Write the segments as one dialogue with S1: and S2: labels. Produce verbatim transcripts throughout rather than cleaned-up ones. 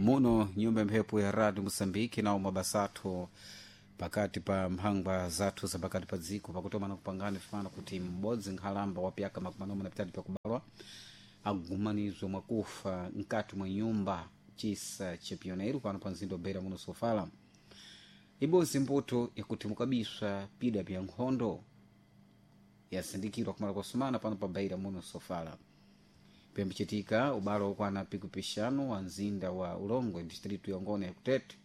S1: Muno nyumba ya mphepo ya Radio Moçambique nawo mabasathu pakati pa mphangwa zathu za pakati pa dziko pakutomana kupangana fano kuti m'bodzi nkhalamba wa pyaka makumi anayi na pitatu pakubalwa agumanizwe mwakufa mkati mwa nyumba chisa cha pioneiro pano pa mzinda wa Beira muno Sofala. Ibodzi mbuto yakuti mukabiswa pida pya nkhondo yasindikirwa kumala kwasumana pano pa Beira muno Sofala. Pembichitika ubalo wokwana pikupishano wa mzinda wa Ulongwe distritu ya Ngona ya Kutete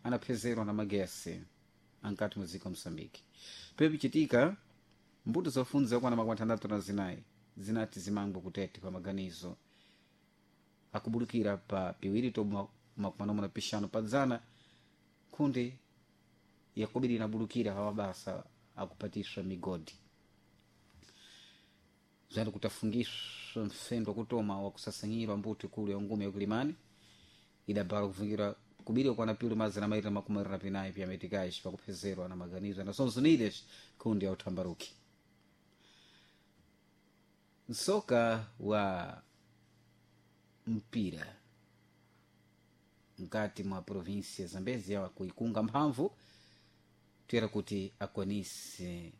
S1: anaphezerwa na magesi ankati mwa dziko la Moçambique. Pembichitika mbuto zofunza zokwana makumi atandatu na zinayi zinati zimangwe kutete pa maganizo akubulukira pa piwiri to makumi anayi na pixanu pa dzana nkhunde yakubiri inabulukira pa mabasa akupatiswa migodi zali kutafungiswa mfendo wakutoma wakusasanyirwa mbuto ikulu ya ngume yakulimani idabala kufungira kubiri kwana pilu mazana mairi na makumi mairi na pinayi pya metikais pakuphezerwa na maganizo na Nações Unidas kundi ya uthambaruki. Msoka wa mpira mkati mwa província ya Zambezia kuikunga mphamvu tuyera kuti akwanise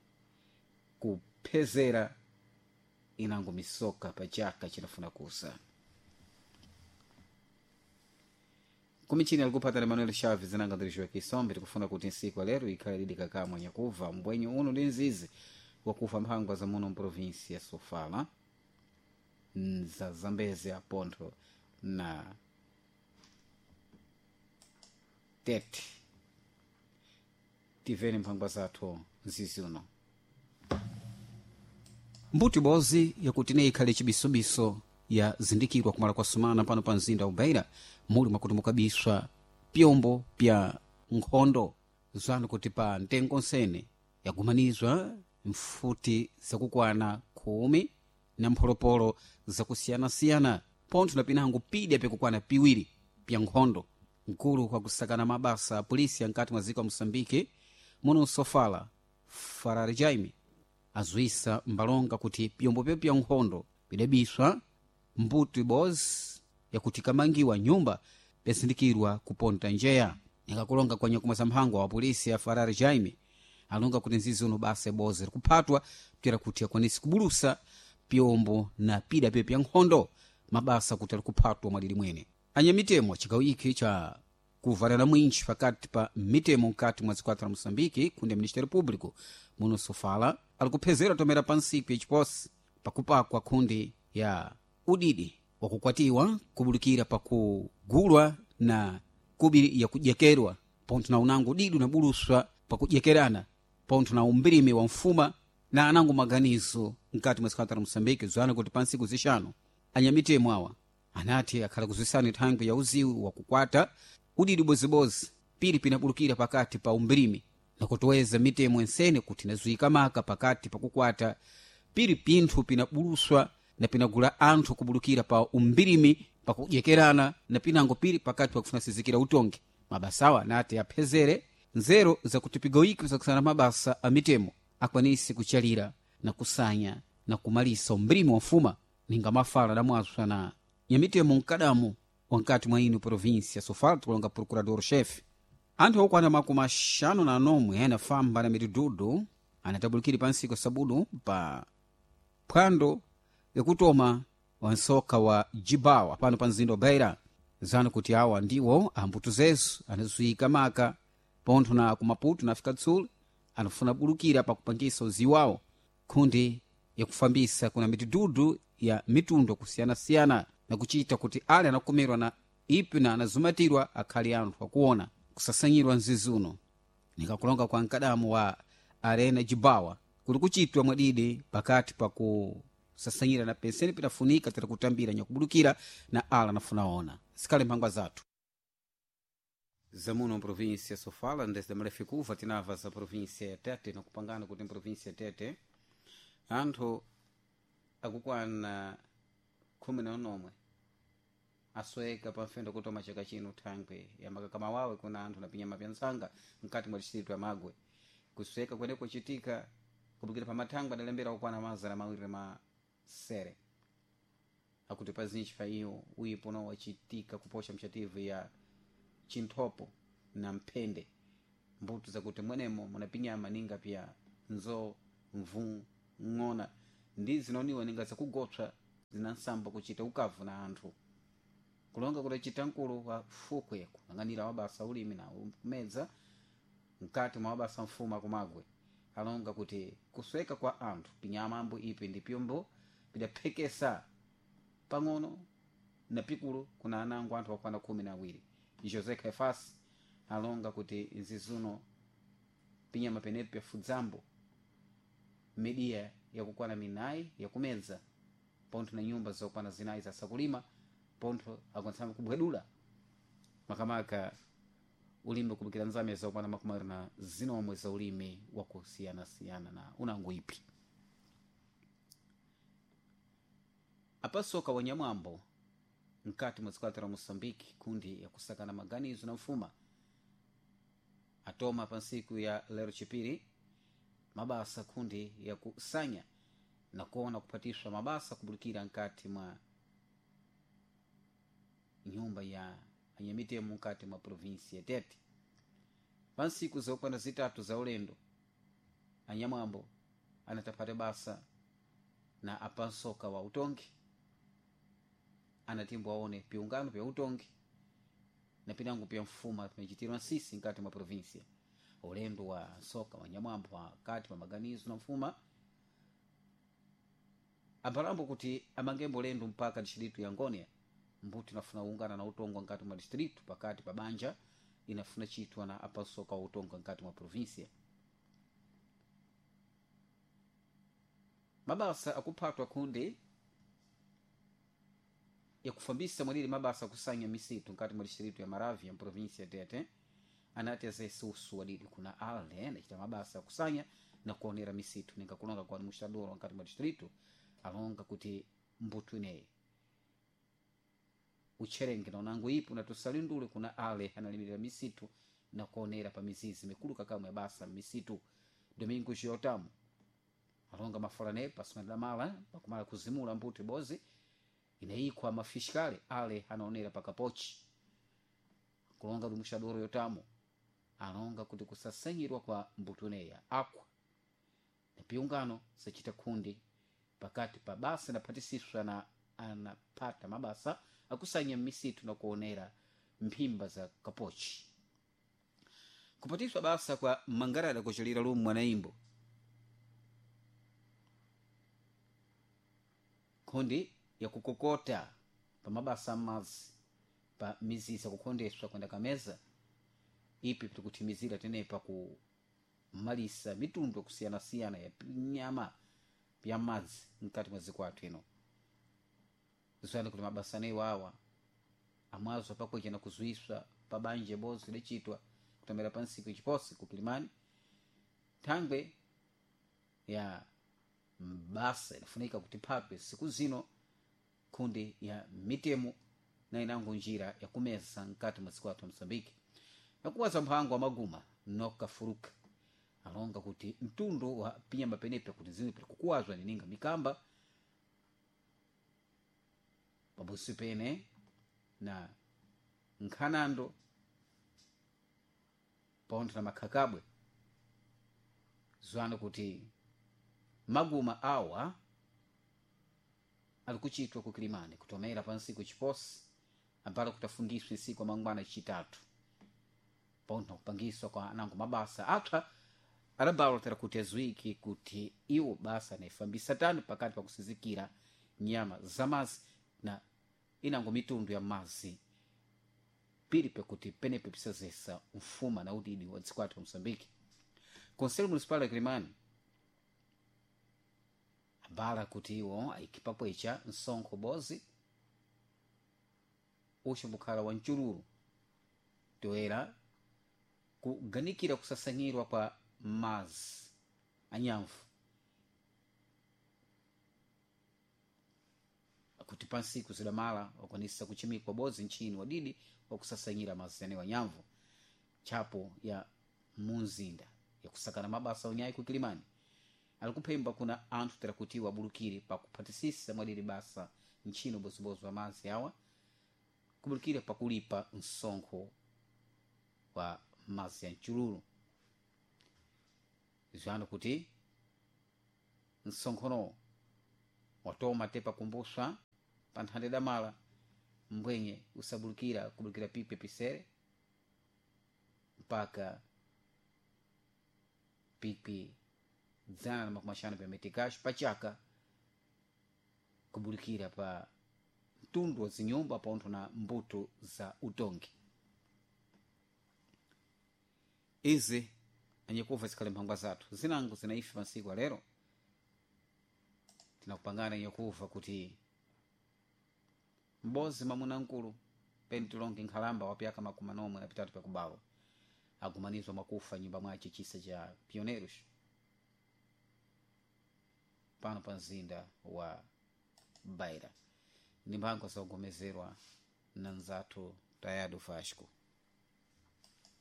S1: kuphezera inango misoka pa chaka chinafuna kusa. Kumichini alikupata Emmanuel Chaves nanga ndirijiwa kisombe tikufuna kuti nsiku lero ikhale lidi kakamwa nyakuva mbwenyu uno ndi nzizi wakufa mphangwa za muno mprovinsi ya Sofala za Zambezia Pontho na Tete. Tiveni mphangwa zathu nzizi uno mbuti bozi yakuti ne ikhale chibisubiso ya zindikirwa kumala kwa sumana pano pa mzinda wa Beira muli mwakuti mukabiswa pyombo pya nkhondo zanu kuti pa ntengo nsene yagumanizwa mfuti zakukwana khumi na mpholopolo zakusiyanasiyana pontho na pinango pidya pyakukwana piwiri pya nkhondo. Mkulu kwa kusakana mabasa a polisi ankati mwa dziko la Moçambique muno Sofala Farari Jaime azwisa mbalonga kuti pyombo pyo pya nkhondo bidabiswa mbuto ibodzi yakuti kamangiwa nyumba pyasindikirwa kuponta njeya. Nikakulonga kwa nyakumwa za mphangwa wa polisi ya Farari Jaime alonga kuti nzizi uno basa ibodzi likuphatwa pyera kuti akwanise kubulusa pyombo na pida pyo pya nkhondo mabasa kuti alikuphatwa mwadidi mwene. Anyamitemo chigawo iki cha kuvalana mwinji pakati pa mitemo mkati mwa zikwata la Moçambique kundi ya Ministério Público muno Sofala alikuphezera tomera pa nsiku yachiposi pakupakwa kundi ya udidi wakukwatiwa kubulukira pakugulwa na kubiri yakujekerwa pontho na unango udidi unabuluswa pakujekerana pontho na umbirimi wa mfuma na anango maganizo mkati mwa zikwata la Moçambique zwana kuti pa nsiku zixanu anyamitemo awa anati akhala kuzwisana thangwi ya uziwi wakukwata udidi bozibozi pili pinabulukira pakati pa umbirimi nakutoweza mitemo ensene kuti inazuika maka pakati pakukwata pili pinthu pinabuluswa na pinagula anthu kubulukira pa umbirimi pakujekerana na pinango pili pakati pakufuna sizikira utongi. Mabasawa anati aphezere nzero zakuti pigoiki zakusana mabasa a mitemo akwanise kuchalira na kusanya na kumalisa umbirimi wa mfuma ninga mafala adamwaswa na nyamitemo mkadamu wankati mwa ino província ya Sofala tikulonga procurador-chefe. Anthu okwana makumi axanu na anomwe anafamba na mitidudu anatabulukire pa nsiku sabudu pa phwando yakutoma wa nsoka wa Jibawa pano pa mzinda wa Beira zanu kuti awa ndiwo ambuto zezu anazuika maka pontho na kumaputo na Afrika do Sul anafuna bulukira pakupangisa uziwi wawo nkhundi yakufambisa kuna mitidudu ya mitundu kusiyanasiyana na kuchita kuti ale anakumerwa na ipi na anazumatirwa akhale anthu akuona kusasanyirwa mzizi uno. Nikakulonga kwa mkadamu wa arena Jibawa kuli kuchitwa mwadidi pakati pa kusasanyira na penseni pinafunika tera kutambira nyakubulukira na ala anafunaona zikhale mphangwa zathu zamuno mprovinsia ya Sofala ndesida malefikuva tinava za provinsia ya Tete nakupangana kuti mprovinsia ya Tete anthu akukwana khumi na unomwe asweka pamfendo kutoma chaka chino thangwe ya makakama wawe kuna anthu na pinyama pya ntsanga mkati mwa distritu ya Magwe. Kusweka kwene kuchitika kupikira pa mathangwe adalembera kukwana mazana mawiri masere. Akuti pazinji pa iyo uipo nawo wachitika kuposha mchativu ya chinthopo na mphende mbuto zakuti mwenemo munapinyama ninga pya nzo mvu ng'ona ndi zinaoniwa ninga zakugopsa zinansamba kuchita ukavu na anthu kulonga kuti achita mkulu wa fukwe kuyang'anira wabasa ulimi na kumedza mkati mwa wabasa mfumu akumagwe alonga kuti kusweka kwa anthu pinyama ambo ipi ndi pyombo pidaphekesa pang'ono na pikulu kuna anango anthu akwana khumi na awiri. José Caifás alonga kuti nzizuno pinyama penepo pyafudzambo midiya yakukwana minayi yakumedza pontho na nyumba zokwana zinayi zasakulima pontho akwanitsamba kubwedula makamaka ulimi kupikira nzame zokwana makumi awiri na zinomwe za ulimi wakusiyanasiyana na unango ipi. Apasoka wanyamwambo mkati mwa dziko la Moçambique kundi yakusakana maganizo na mfuma atoma pa ntsiku ya lero chipiri mabasa kundi yakusanya na kuona kupatiswa mabasa kubulikira nkati mwa nyumba ya anyamitemo mkati mwa provinsi ya Tete. Pa ntsiku zokwana zitatu za ulendo anyamwambo anatapata basa na apansoka wa utongi anatimbo aone piungano pya utongi na pinango pya mfuma pimachitirwa nsisi nkati mwa provinsia. Ulendo wa nsoka wa nyamwambo wakati mwa maganizo na mfuma ampalambo kuti amangembo ulendo mpaka distritu ya Ngonia mbuti inafuna kuungana na utongo nkati mwa distritu pakati pa banja inafuna chitwa na apansoka wa utongo nkati mwa provinsia. Mabasa akuphatwa kundi yakufambisa mwalili mabasa akusanya misitu nkati mwa distritu ya Maravia ya provinsia ya Tete anati azesusu wadidi kuna ale anachita mabasa akusanya na kuonera misitu ninga kulonga kwa mushadoro nkati mwa distritu alonga kuti mbutu ineyi ucherenge na unango ipo na tusalindule kuna ale analimirira misitu na kuonera pa mizizi mikulu kakamwe basa misitu. Domingo Giotamu alonga mafolane pasumana mala pakumala kuzimula mbuti bozi inaikwa mafishikale ale anaonera pakapochi kulonga lumushadoro yotamu alonga kuti kusasanyirwa kwa mbutuneya akwa na piungano sachita kundi pakati pa basa naphatisiswa na anapata mabasa akusanya misitu na kuonera mphimba za kapochi. Kupatiswa basa kwa mangarada kuchalira lumu mwanaimbo kundi yakukokota pa mabasa amazi pa mizizi akukhondeswa kwenda kameza ipi tikuthimizira tenepa kumalisa mitundu yakusiyanasiyana ya nyama ya madzi mkati mwa dziko athu ino. Zani kuti mabasa anewo awa amwazo pakwecha na kuzuiswa pa banja bozi lidachitwa kutomera pa ntsiku ichiposi ku Kilimani thangwe ya mbasa inafunika kuti phapwe siku zino kundi ya mitemo na inango njira yakumeza mkati mwa dziko athu Moçambique. Nakuwaza mphango wa maguma nokafuruka alonga kuti mtundu wa pinyama penepa kuti zimwe pali kukuwazwa nininga mikamba pabusi pene na nkhanando pontho na makhakabwe zwano kuti maguma awa ali kuchitwa ku Kilimani kutomera pa ntsiku chiposi ambalo kutafungiswa ntsiku amangwana chitatu pontho kupangiswa kwa anango mabasa apsa adabalotera kuti aziwike kuti iwo basa anayifambisa tani pakati pa kusizikira nyama zamazi na inango mitundu ya mazi pili pekuti penepe pisazesa mfuma na udidi wa dziko athu Moçambique. Conselho Municipal ya Kilimani abala kuti iwo aikipapwecha msonkho bozi uchimbukhala wa mchululu toera kuganikira kusasanyirwa kwa mazi anyamvu kuti pansiku zidamala wakwanisa kuchimikwa bodzi nchini wadidi wakusasanyira mazi anewo anyamvu tchapo ya munzinda yakusakana mabasa onyayi ku Kilimani ali kuphemba kuna anthu tera kuti wabulukire pakuphatisisa mwadiri basa ntchino bozibozi wa mazi awa kubulikira pakulipa msonkho wa mazi ya mchululu. Ziwano kuti msonkhono watoma te pakumbuswa pa nthande damala mbwenye usabulikira kubulikira pikwi pisere mpaka pikwi dzana na makumi axanu pa metikaxo pachaka kubulikira pa mtundu wa zinyumba pontho na mbuto za utongi. Izi anyakuva zikhale mphangwa zathu zinango zinaife masiku alero tinakupangana nyakuva kuti m'bozi mwamuna nkulu pentilonge nkhalamba wa pyaka makumi anomwe na pitatu pyakubawa agumanizwa mwakufa nyumba mwace chisa cha Pioneiros pano pa mzinda wa Beira. Ndi mphango zogomezerwa na nzathu Tayado Vasco.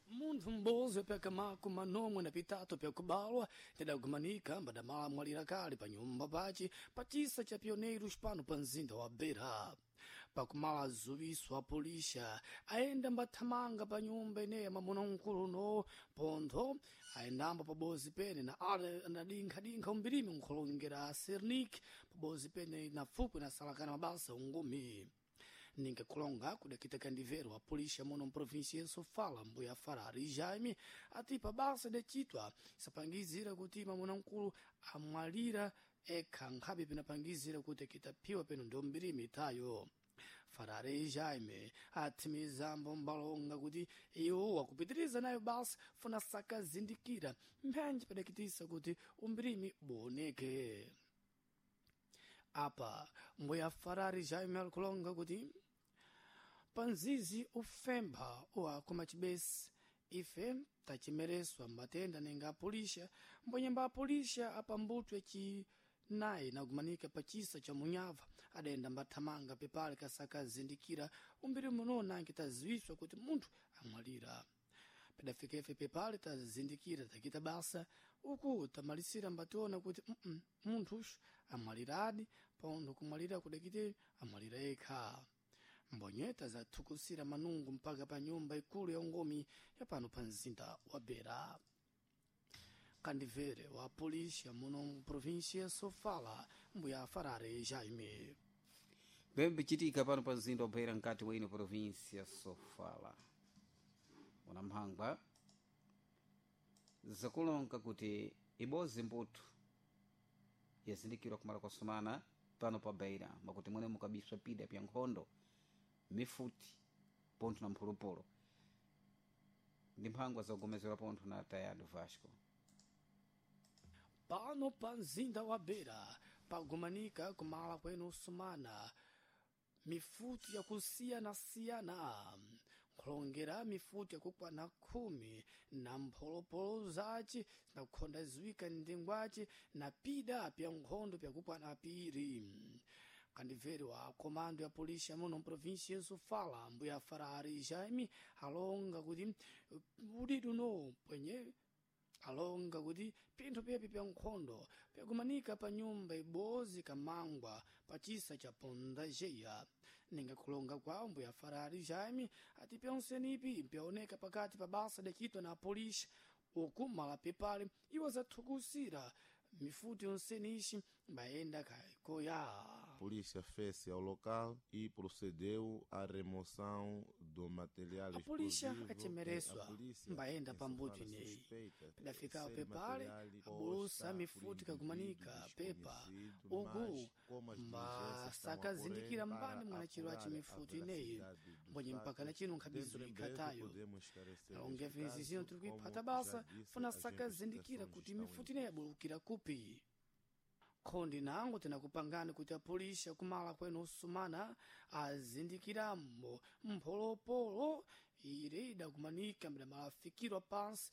S2: Munthu m'bozi wapyaka makumi manomwe na pitatu pyakubalwa tidagumanika mbadamala mwalira kale pa nyumba pace pa chisa cha Pioneiros pano pa mzinda wa Beira. Pakumala azuwiso a polisha ayenda mbathamanga pa nyumba ineyi mwamuna mkulu no pontho ayendambo pabozi pene na ale anadinkha-dinkha umbirimi nkholongera Sernik pabozi pene na fukwe na salakana mabasa ungumi. Ninga kulonga kudakita kandivero a polícia muno mprovíncia ya Sofala mbuya Farari Jaime ati pabasa decitwa sapangizira kuti mwamuna mkulu amwalira ekha nkhabe pinapangizira kuti akitaphiwa peno ndio mbirimi itayo. Farari Jaime athimizambo mbalonga kuti iwo wakupitiriza nayo basa funa sakazindikira mphenji padakitisa kuti umbirimi buoneke. Apa mbuya Farari Jaime alikulonga kuti panzizi ufempha uwakoma chibesi ife tachimereswa matenda nenga apulisha mbwenyemba apulisha apambutwe chinayi nagumanika pa chisa cha munyava adayenda mbathamanga pepale kasakazindikira umbiri muno nange taziwiswa kuti munthu amwalira. Padafika ife pepale tazindikira takita basa uku tamalisira mbationa kuti mm -mm, munthuxu amwaliradi pontho kumwalira kudakite amwalira yekha. Mbonyeta zathukusira manungu mpaka pa nyumba ikulu ya ungomi ya pano pa mzinda wa Beira. Kandivere wa polícia muno mprovíncia ya Sofala mbuya Farare Jaime.
S1: Bembe chitika pano pa mzinda wa Beira mkati wa ino província Sofala. Una mphangwa zakulonga kuti ibozi mbuto yazindikirwa kumala kwa sumana pano pa Beira makuti mwene mukabiswa pida pya nkhondo mifuti pontho na mphulupulu. Ndi mphangwa zogomezera pontho na Tayado Vasco.
S2: Pano pa mzinda wa Beira pagumanika kumala kwenu sumana mifuti yakusiyana-siyana nkhulongera mifuti yakukwana khumi na mpholopolo zace zinakukhonda ziwika ndengwace na pida pya nkhondo pyakukwana piri. Kandiveri wa komando ya polícia muno mprovíncia ya Sofala mbuya Farari Jaime alonga kuti udidu no pwenye alonga kuti pinthu pepi pya nkhondo pyakumanika pa nyumba ibozi kamangwa pa chisa cha Pondajeya. Ninga kulonga kwawo mbuya Farari Jaime ati pyonsenipi pyaoneka pakati pa basa dakitwa na polícia uku mala pepale iwo zathukusira mifuti yonseniixi mbayenda kaikoya.
S3: Polícia fez-se ao local e procedeu à remoção do material
S2: A polícia
S3: explosivo.
S2: achemereswa
S3: A polícia
S2: mbayenda
S3: em
S2: pambuto
S3: Sofala
S2: ineyi
S3: suspeita
S2: pidafikawo
S3: ser
S2: pepale
S3: material
S2: abulusa
S3: posta
S2: mifuti
S3: por
S2: kakumanika
S3: indivíduo
S2: pepa
S3: desconhecido,
S2: uku
S3: mas como as diligências estão a
S2: mbasakazindikira
S3: correr para
S2: mbani mwanachiro
S3: apurar
S2: aci
S3: a
S2: mifuti ineyi
S3: veracidade dos
S2: mbonye mpaka na
S3: fatos,
S2: chino nkhabizo
S3: dentro em breve
S2: ikhatayo.
S3: podemos esclarecer
S2: Alonge
S3: este
S2: vinzi zino
S3: caso,
S2: tiri
S3: como
S2: kuiphata
S3: já
S2: basa
S3: disse,
S2: funa
S3: as
S2: sakazindikira
S3: investigações
S2: kuti
S3: estão em
S2: mifuti ineyi yabulukira kupi. Khondi nango tinakupangani kuti apolisi akumala kwenu osumana azindikirambo mpholopolo ire idakumanika mbidamalafikirwa pansi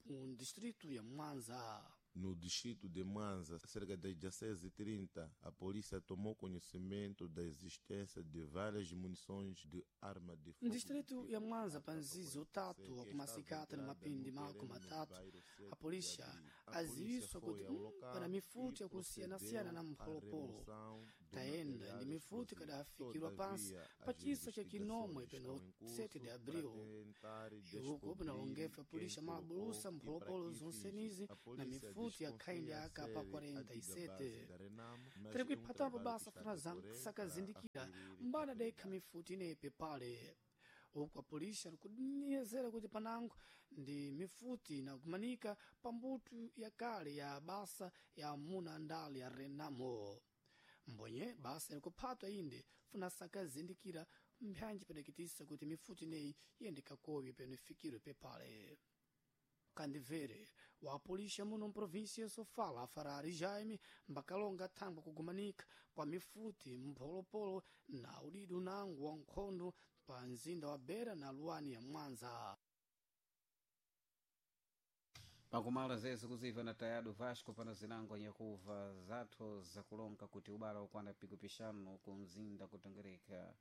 S2: mu distritu ya Mwanza.
S3: No distrito de Mwanza, cerca das dezesseis e trinta, a polícia tomou conhecimento da existência de várias munições de arma de fogo.
S2: No distrito ya Mwanza, panzizi utatu wa kumasikata na mapindi mako matatu, a polícia aziwiswa kuti mm, pana mifuti yakusiyana-siyana na mpholopolo tayenda ndi mifuti kadafikirwa pansi pa chisa cha chinomwe peno sete de abril. Iuko panalongefa polícia mabulusa mpholopolo zonsenizi na mifuti ya khaindi ya A K quarenta e sete. Tiri kuiphatapo basa funa sakazindikira mbana daikha mifuti inepe pale. Uku apolisi alikunyezera kuti panango ndi mifuti inakumanika pa mbuto ya kale ya basa ya amuna andale ya Renamo. Mbonye basa ilikuphatwa inde funa sakazindikira mphanji padakitisa kuti mifuti ineyi iyende kakowi peno ifikirwe pepale. Kandivere wa polícia muno mprovíncia Sofala, Farari Jaime, mbakalonga thangwa kugumanika kwa mifuti mpholopolo na udidu nangu wa nkhondo pa mzinda wa Beira na luwani ya Mwanza.
S1: Pakumala zezo kuziva na Tayado Vasco pana zinango nyakuva zathu zakulonga kuti ubala ukwana pikupishano ku mzinda kutongereka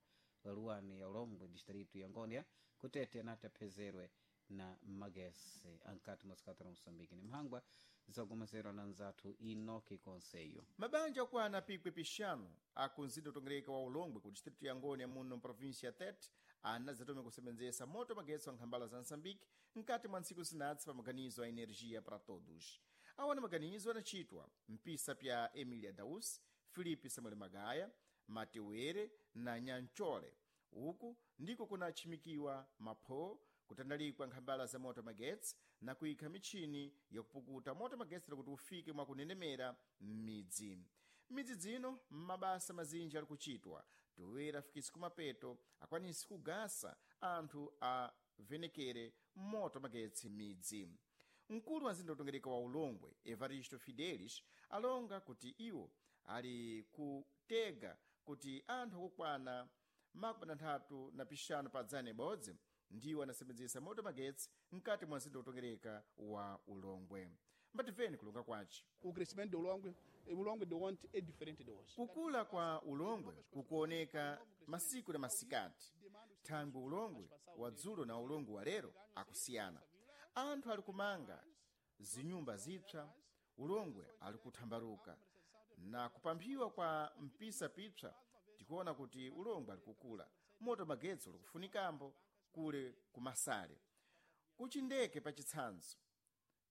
S1: luwani ya Ulongwe, distrito ya Ngonia, kutete anati aphezerwe na magesi ankati mwasikati la Moçambique. Ni mhangwa zakumazerwa na nzathu Inoki Konseyo.
S4: Mabanja okwana pikwi pixanu akunzinda utongereka wa Ulongwe ku distrito ya Ngônia muno mprovíncia ya Tete anadzatome kusebenzesa moto magetsi wa nkhambala za Moçambique mkati mwa ntsiku zinatsi pa maganizo a energia para todos. Awana maganizo anachitwa mpisa pya Emilia Daus, Filipe Samuel Magaya, Matewere na Nyanchole. Uku ndiko kunachimikiwa mapho, kutandalikwa nkhambala za moto magetsi na kuyikha michini yakupukuta moto magetsi kuti ufike mwakunenemera m'midzi. Midzi dzino mabasa mazinji ali kuchitwa toera afikisi kumapeto akwanisi kugasa anthu avenekere moto magetsi m'midzi. Mkulu wa mzinda utongereka wa Ulongwe, Evaristo Fidelis, alonga kuti iwo ali kutega kuti anthu akukwana makumi atatu na pixanu pa dzana ibodzi ndiwo anasebenzesa moto magetsi mkati mwa mzinda utongereka wa Ulongwe. Mbatimveni kulonga kwace.
S5: O crescimento do Ulongwe, o Ulongwe de ontem é diferente de hoje.
S4: Kukula kwa Ulongwe kukuoneka masiku na masikati. Thangwi Ulongwe wa dzulo na Ulongwe wa lero akusiyana. Anthu ali kumanga zinyumba zipsa, Ulongwe ali kuthambaluka na kupamphiwa kwa mpisa pipsa. Tikuona kuti Ulongwe ali kukula, moto magetsi uli kufunikambo kule kumasale kuchindeke. Pachitsanzo,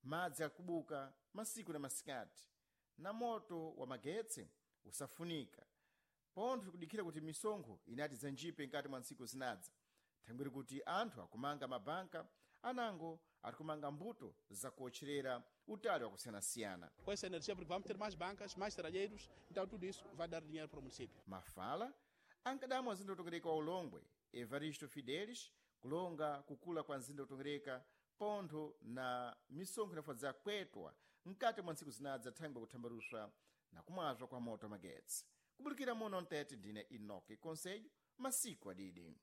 S4: madzi akubuka masiku na masikati na moto wa magetsi usafunika pontho. Tikudikira kuti misonkho inati zanjipe mkati mwa ntsiku zinadza, thangwiri kuti anthu akumanga mabanka anango ari kumanga mbuto zakuotcherera utali wakusiyanasiyana.
S5: Com essa energia, porque vamos ter mais bancas, mais serralheiros, então tudo isso vai dar dinheiro para o município.
S4: Mafala ankadamwa mzinda utongereka wa Ulongwe, Evaristo Fidelis, kulonga kukula kwa mzinda utongereka pontho na misonkho inafadza kwetwa mkati mwa ntsiku zinadza thangwi kuthambaruswa na kumwazwa kwa moto magetsi. Kubulikira muno mtete, ndine Inoki Konselho, masiku adidi.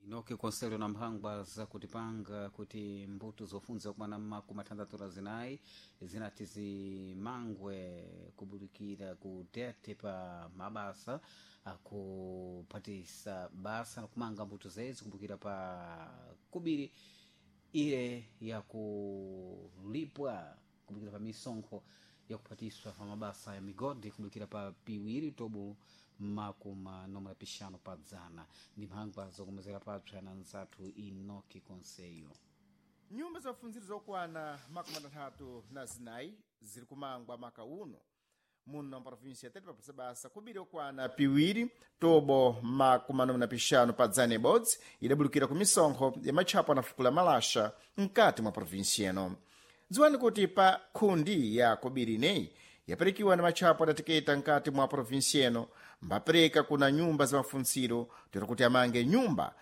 S1: Inoki Konselho na mphangwa zakutipanga kuti mbuto zofunza kumana makumi athanthatu na zinayi zinati zimangwe kubulikira kutete pa mabasa akuphatisa basa nakumanga mbuto zezi kumbukira pa kubiri ile yakulipwa kumbukira pa misonkho yakuphatiswa pa mabasa ya migodi kumbukira pa piwiri tobo makumi nomwe na pixanu pa dzana. Ndi mphangwa zokomezera papsa na nzathu Inoki Konseyo.
S4: Nyumba za mafunziro zokwana makumi atatu na zinayi ziri kumangwa maka uno muno mprovinsia ya Tete papasa basa kubiri okwana piwiri tobo makumi anomwe na pixanu pa dzana ibodzi idabulukira ku misonkho ya matchapo anafukula malasha mkati mwa provinsia ino. Dziwani kuti pa khundi ya kobiri ineyi yaperekiwa na matchapo adateketa mkati mwa provinsia ino mbapereka kuna nyumba za mafuntsiro tero kuti amange nyumba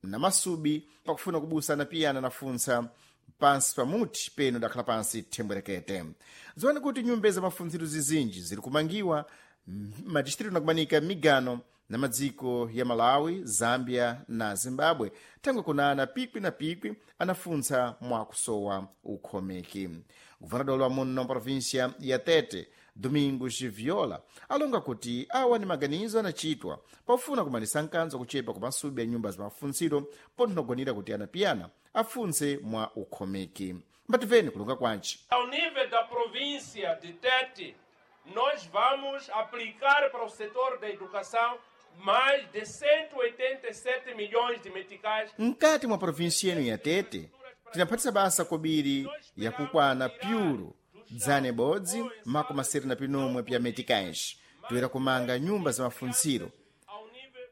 S4: na masubi pakufuna kubusana piyana nafuntsa pansi pamuti peno dakhala pansi thembwerekete. Dziwani kuti nyumba za mafuntsiro zizinji ziri kumangiwa madistritu nakumanika migano na madziko ya Malawi, Zambia na Zimbabwe, thangwe kunana pikwi na pikwi anafuntsa mwakusowa ukhomeki. Governador wa muno província ya Tete, Domingos Viola, alonga kuti awa ni maganizo anachitwa pofuna kumanisa nkanzo kuchepa kwa masubi ya nyumba za mafuntsiro pontho kuti anapiyana afunse mwa ukhomeki. Mbativeni kulonga kwanci.
S6: Ao nível da província de Tete, nós vamos aplicar para o setor da educação mais de cento e oitenta e sete milhões de meticais.
S4: Mkati mwa província yenu ya Tete, tinaphatisa basa kobiri yakukwana pyulu dzane bodzi makumi asere na pinomwe pya meticais toyera kumanga nyumba za mafuntsiro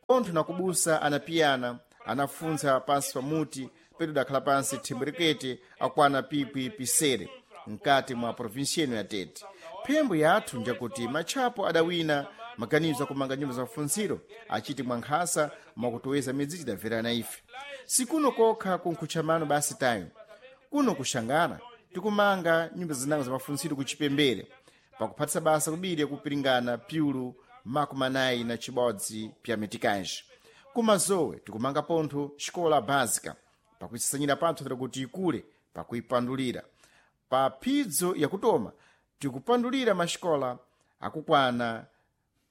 S4: pontho nakubusa anapiyana anafuntsa pansi pa muti pedu dakhala pansi thembwerekete akwana pikwi pisere mkati mwa província ino ya Tete. Phembo yathu njakuti matchapo adawina maganizo akumanga nyumba za mafuntsiro achiti mwankhasa mwakutoweza midzi tidamverana ife. Sikuno kokha kunkhutchamano basi tayo kuno kuxangana tikumanga nyumba zinango za mafuntsiro kuchipembere pakuphatisa basa kubiri yakupiringana pyulu makumi anayi na chibodzi pya metikanje. Kumazowe tikumanga pontho xikola básica pakuisasanyira panthu tira kuti ikule pakuipandulira. Pa phidzo yakutoma tikupandulira maxikola akukwana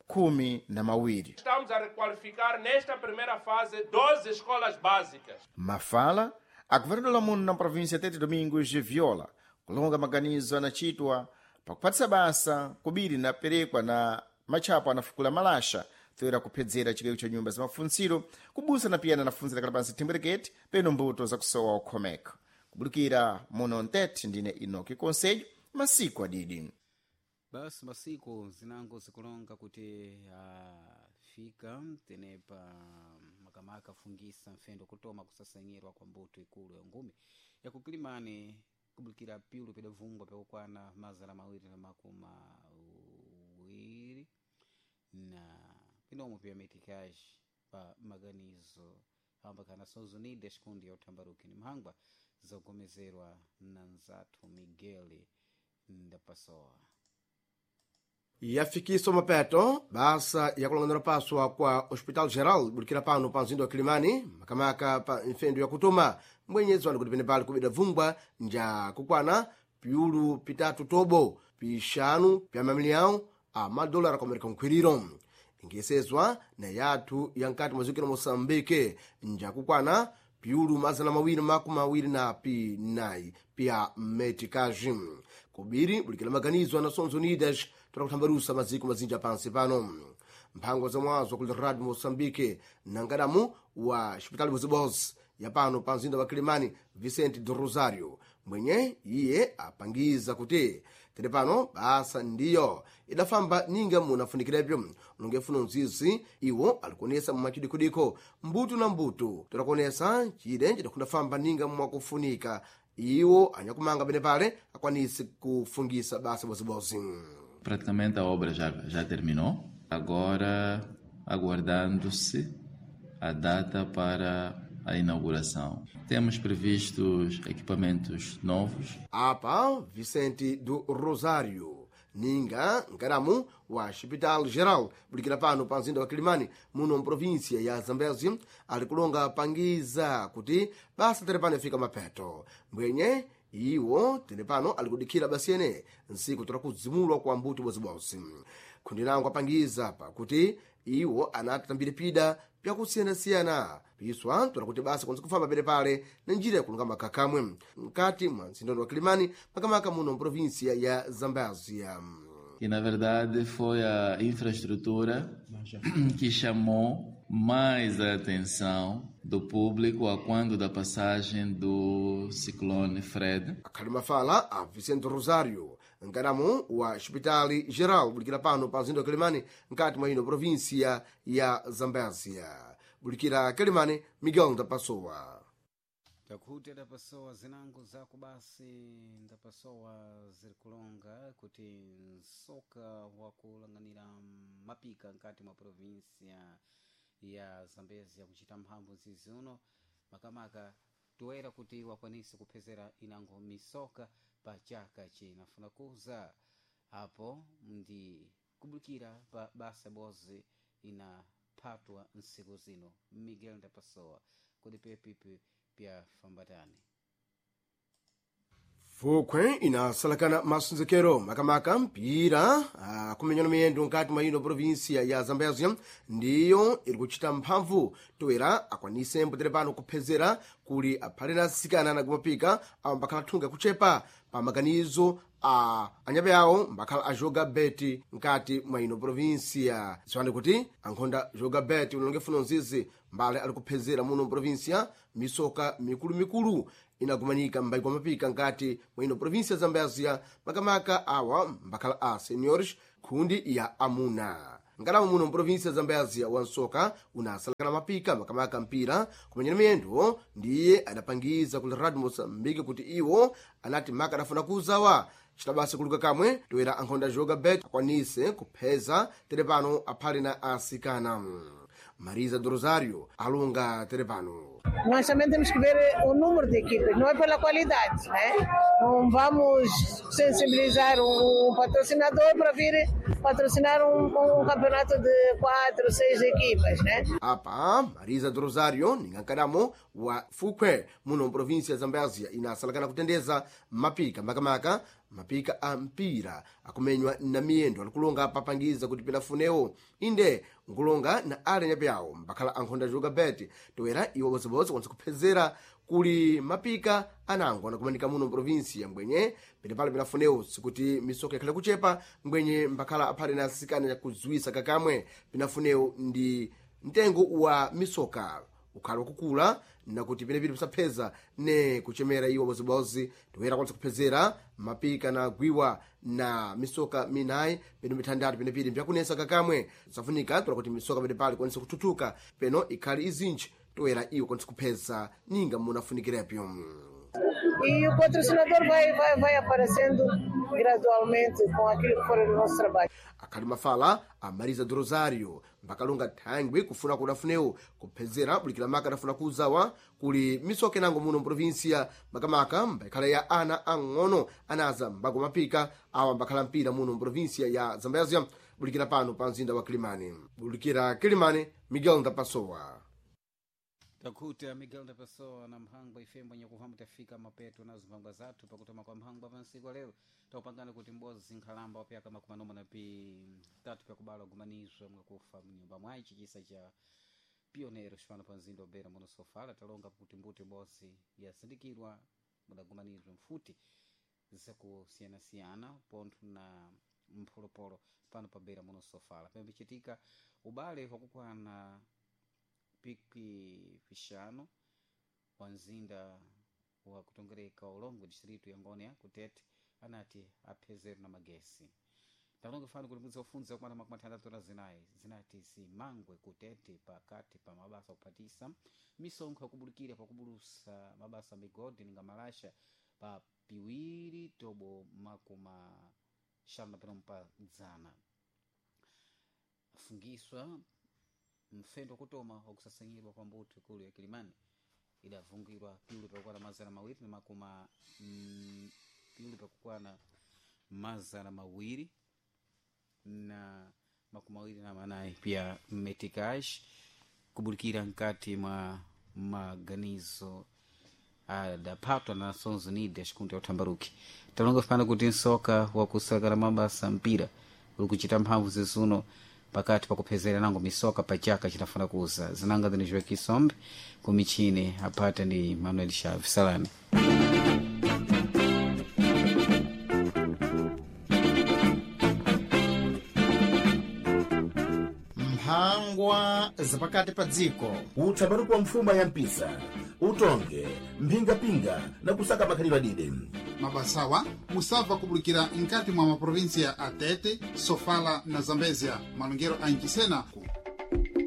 S4: khumi na mawiri.
S6: Estamos a requalificar nesta primeira fase doze escolas básicas.
S4: Mafala a governador muno na província Tete, Domingos Viola, kulonga maganizo anachitwa pakuphatisa basa kubiri naperekwa na matchapo anafukula malasha toyera kuphedzera chigayo cha nyumba za mafuntsiro kubusa na piyana anafunzira kala pansi thembwerekete peno mbuto zakusowa ukhomeka. Kubulukira muno Ntete, ndine Inoki Conselho, masiku adidi.
S1: Basi masiku zinango zikulonga kuti afika tenepa makamaka afungisa mfendo kutoma kusasanyirwa kwa mbuto ikulu ya ngumi yakukilimani kubulikira pyulu pidavungwa pyakukwana mazana mawiri na makumi awiri na pinomwe pya metikaji pa maganizo ambaka Nações Unidas kundi ya uthambaruki ni mhangwa zogomezerwa na nzathu Miguel Ndapasoa.
S7: Yafikiswa mapeto basa yakulang'anira paswa kwa Hospital Geral bulikira pano pa mzinda wa Kilimani makamaka pa mfendo yakutuma mbwenyezi wanu kuti penepali kubida vungwa nja kukwana piulu pitatu tobo pixanu pya mamiliyão a madolara ku Amerika nkhwiriro ingesezwa na yathu ya nkati mwa dziko la Moçambique njakukwana piulu mazana mawiri makumi awiri na pinayi pya meticage kubiri bulikira maganizo a Nações Unidas toda kuthambalusa maziko mazinja pansi pano. Mphango za mwazo kuli Radio Moçambique na nkadamu wa Hospital Bozibozi ya pano pa mzinda wa Kilimani Vicente do Rosario mwenye iye apangiza kuti tere pano basa ndiyo idafamba ninga munafunikirepyo ulongefuna mzizi iwo alikuonesa mumachidikudiko mbutu na mbutu torakuonesa chide chidakundafamba ninga mwakufunika iwo anyakumanga pene pale akwanise kufungisa basa bozibozi.
S8: Praticamente a obra já, já terminou. Agora aguardando-se a data para a inauguração. Temos previstos equipamentos novos.
S7: Apa Vicente do Rosário ninga nkadamu wa Hospital Geral bulikira pano pa mzinda wa Kilimani muno mprovíncia ya Zambezi ali kulonga pangiza kuti basa tere pano ifika mapeto mbwenye iwo tere pano ali kudikhira basiyene nsiku tola kudzimulwa kwa mbuto bozibozi. Khundi langu apangiza pakuti iwo anatambire pida pyakusiyanasiyana piswa tola kuti basa kwanza kufamba pene pale na njira yakulunga makhakamwe mkati mwa mzindondo wa Kilimani makamaka muno mprovíncia ya Zambézia.
S8: E na verdade foi a infraestrutura que chamou mais a atenção do público a quando da passagem do ciclone Fred.
S7: Akhali mafala a Vicente Rosário nkadamu wa Hospital Geral bulikira pano pa mzinda wa Kilimani nkati mwa ino província ya Zambézia. Bulikira Kilimani, Miguel Ndapasowa.
S1: Takuti adapasowa zinango zako basi ndapasowa zirikulonga kuti msoka wakulang'anira mapika nkati mwa provinsia ya Zambezia kuchita mphamvu zizi uno makamaka toera kuti wakwanise kuphezera inango misoka pa chaka chinafuna kuza apo ndi kubulikira pa basa bozi inaphatwa nsiku zino. Miguel Ndapasowa kuti pepipi pya fambatani.
S7: Fukhwe inasalakana masonzekero makamaka mpira akumenyana miyendo nkati mwa ino provinsia ya Zambezia ndiyo iri kuchita mphamvu toera akwanise mpotere pano kuphezera kuli aphale na asikana anagumapika awo mbakhala thunga kuchepa pa maganizo a anyabe awo mbakhala ajoga beti nkati mwa ino provinsia. Ziwani kuti ankhonda joga beti unalonge funo nzizi mbale ali kuphezera muno provinsia misoka mikulumikulu inagumanika m'mbaiko mapika nkati mwa ino provinsia ya Zambezia makamaka awa mbakhala a seniors khundi ya amuna. Ngalamo muno mprovinsia ya Zambezia wansoka unasalakana mapika makamaka mpira kumenyana miyendo ndiye adapangiza kuli Radio Moçambique kuti iwo anati maka adafuna kuzawa citabasa kuluka kamwe toera ankhonda joga bet akwanise kupheza tere pano aphale na asikana. Marisa do Rosário alonga tere pano.
S9: Nós também temos que ver o número de equipas, não é pela qualidade, né? Não vamos sensibilizar um patrocinador para vir patrocinar um, um campeonato de quatro, seis equipas, né?
S7: Apa Marisa do Rosário ningankadamo wa Fukhwe muno mprovinsia ya Zambezia inasalakana kutendeza mapika makamaka mapika a mpira akumenywa na miyendo alikulonga papangiza kuti pinafunewo inde nkulonga na ale nyape awo mbakhala ankhonda joga beti toera iwo bodzibodzi kwanisa kuphezera kuli mapika anango anakumanika muno mprovinsi ya mbwenye penepale pinafunewo sikuti misoka ikhale kuchepa mbwenye mbakhala aphale na asikana kudziwisa kakamwe pinafunewo ndi mtengo wa misoka ukhala wakukula nakuti penepili pisapheza ne kuchemera iwo bozibozi toera kwanisa kuphezera mapika na gwiwa na misoka minayi peno mitandatu penepili mbyakunesa kakamwe safunika tola kuti misoka penepali kwanisa kuthuthuka peno ikhali izinji toera iwo kwanisa kupheza ninga munafunikirepo.
S9: E o patrocinador vai, vai, vai aparecendo gradualmente com aquilo que for o nosso trabalho.
S7: Akhali mafala a Marisa do Rosário mbakalonga thangwi kufuna kudafunewo kuphezera bulikira maka adafuna kuuzawa kuli misoka inango muno mprovinsia makamaka mbakhala ya ana ang'ono anaza mbago mapika awa mbakhala mpira muno mprovinsia ya Zambezia bulikira pano pa mzinda wa Kilimani. Bulikira Kilimani, Miguel Ndapasowa.
S1: Takuta Miguel da Pessoa na mphangwa ifembo nyakuhamba tafika mapeto nazo mphangwa zathu pakutoma kwa mphangwa pansiku lero taupangana kuti mbozi nkhalamba wapyaka makumi anoma na pitatu pyakubala kugumanizwa mwakufa mnyumba mwayi chisa cha pionero xipano pa mzinda obera muno sofala talonga kuti mbuti mbozi yasindikirwa mudagumanizwa mfuti zakusiyanasiyana pontho na mpholopolo pano pabera muno sofala pembichitika ubale wakukwana pikwi pixanu wa mzinda wa kutongereka ulongo distrito ya Ngônia kutete anati aphezero na magesi talonga fano kuti mudzi ofunza kumana makumi atandatu na zinayi zinati zimangwe kutete pakati pa mabasa kuphatisa misonkho yakubulukira pakubulusa mabasa migodi ninga malasha pa piwiri tobo makumi xanu na pinomu pa dzana afungiswa mfendo wakutoma wakusasanyirwa kwa mbuto ikulu ya Kilimani idavungirwa piulu pakukwana mazana mawiri na makuma mm, piulu pakukwana mazana mawiri na makumi mawiri na manayi pia metikash kubulikira nkati mwa maganizo adaphatwa na Nações Unidas kunti ya uthambaruki. Talonga fana kuti nsoka wakusakala mabasa mpira uli kuchita mphamvu zizuno pakati pakuphezera nango misoka pachaka chinafuna kuza zinanga zinijiwe kisombe kumichini apata ndi Manuel Chaves Salame.
S4: Mphangwa zapakati pa dziko.
S10: Utsambaruko wa mfuma ya mpisa utonge mphingapinga na kusaka makhalidwe adide.
S5: Mabasawa musabva kubulikira nkati mwa maprovinsia a Tete, Sofala na Zambezia malongero a Inchisena.